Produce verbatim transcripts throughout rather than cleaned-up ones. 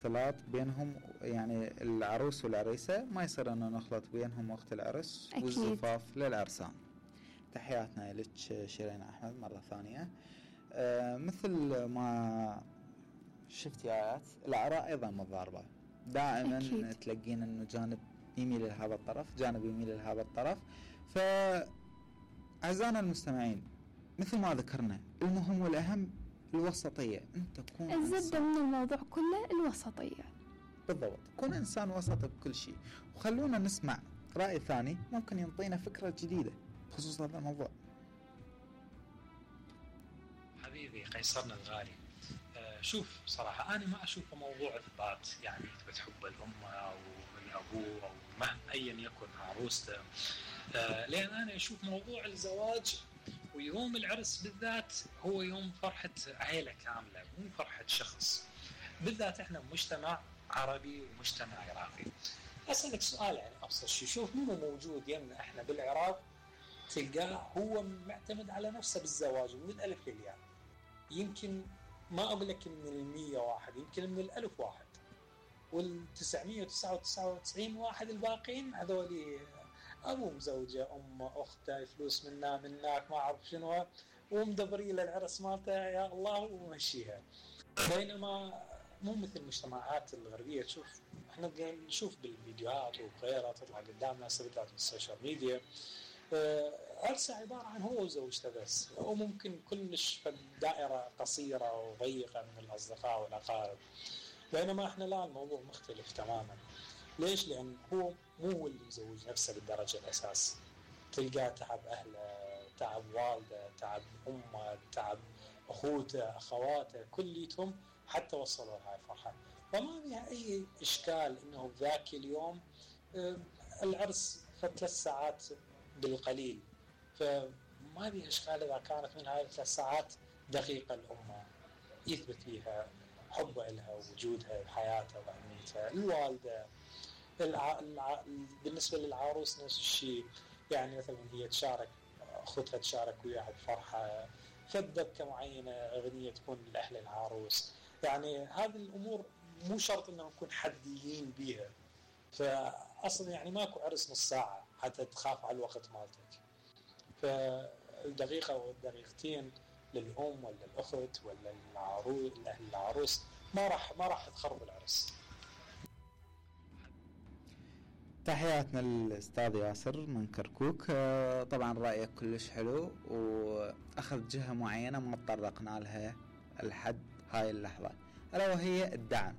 اختلاط بينهم، يعني العروس والعريسة ما يصير انه نخلط بينهم وقت العرس أكيد. والزفاف للعرسان. تحياتنا لك شيرين احمد مرة ثانية. آه مثل ما شفتي آيات، الآراء ايضا متضاربة، دائما أكيد. تلقين انه جانب يميل لهذا الطرف، جانب يميل لهذا الطرف. ف اعزائنا المستمعين، مثل ما ذكرنا، المهم والأهم الوسطية. انت تكون الزبدة من الموضوع كله الوسطية. بالضبط، كون انسان وسط بكل شيء. وخلونا نسمع رأي ثاني ممكن ينطينا فكرة جديدة بخصوص هذا الموضوع. حبيبي قيصرنا الغالي، آه شوف صراحة أنا ما أشوفه موضوع إثبات، يعني إثبات حب الأم أو الأبو أو ما أيا يكن عروسته، آه لأن أنا أشوف موضوع الزواج ويوم العرس بالذات هو يوم فرحة عائلة كاملة، مو فرحة شخص. بالذات إحنا مجتمع عربي ومجتمع عراقي. أسألك سؤال يعني أبسط شيء، شوف مين موجود يمنا إحنا بالعراق تلقاه هو معتمد على نفسه بالزواج من الألف للياء، يمكن ما أقول لك من المية واحد، يمكن من الألف واحد، والتسعمية وتسعة وتسعين واحد الباقين هذولي أبو مزوجة أم أخته فلوس منا منك ما أعرف شنو، ومدبري للعرس مالته يا الله ومشيها. بينما مو مثل المجتمعات الغربية، تشوف احنا نشوف بالفيديوهات وغيرها تطلع قدامنا سبتات بالسوشيال ميديا، عرسه عبارة عن هو وزوجته بس، وممكن كلش في دائرة قصيرة وضيقة من الأصدقاء والأقارب. بينما احنا لا، الموضوع مختلف تماما. ليش؟ لأن هو مو هو اللي مزوج نفسه بالدرجة الأساس، تلقاه تعب أهله، تعب والده، تعب أمه، تعب أخوته، أخواته، كليتهم حتى وصلوا لهاي الفرحة. فما بيها أي إشكال إنه ذاك اليوم العرس ثلاث ساعات بالقليل، فما بيها إشكال إذا كانت من هاي الثلاث ساعات دقيقة الأمة يثبت فيها حبه لها ووجودها بحياتها وأهميتها. الوالدة الع... الع... بالنسبة للعروس نفس الشيء، يعني مثلا هي تشارك أختها تشارك وياها بفرحة، فدبكة معينة، أغنية تكون لأهل العروس. يعني هذه الأمور مو شرط إنه نكون حديين بيها، فأصلا يعني ماكو عرس نص ساعة حتى تخاف على الوقت مالتك. فالدقيقة والدقيقتين للأم ولا الأخت ولا العروس الأهل العروس ما راح ما راح تخرب العرس. تحياتنا للأستاذ ياسر من كركوك. طبعا رأيك كلش حلو، وأخذ جهة معينة ما تطرقنا لها لحد هاي اللحظة، ألا وهي الدعم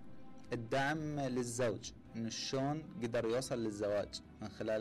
الدعم للزوج، إنه شلون قدر يوصل للزواج من خلال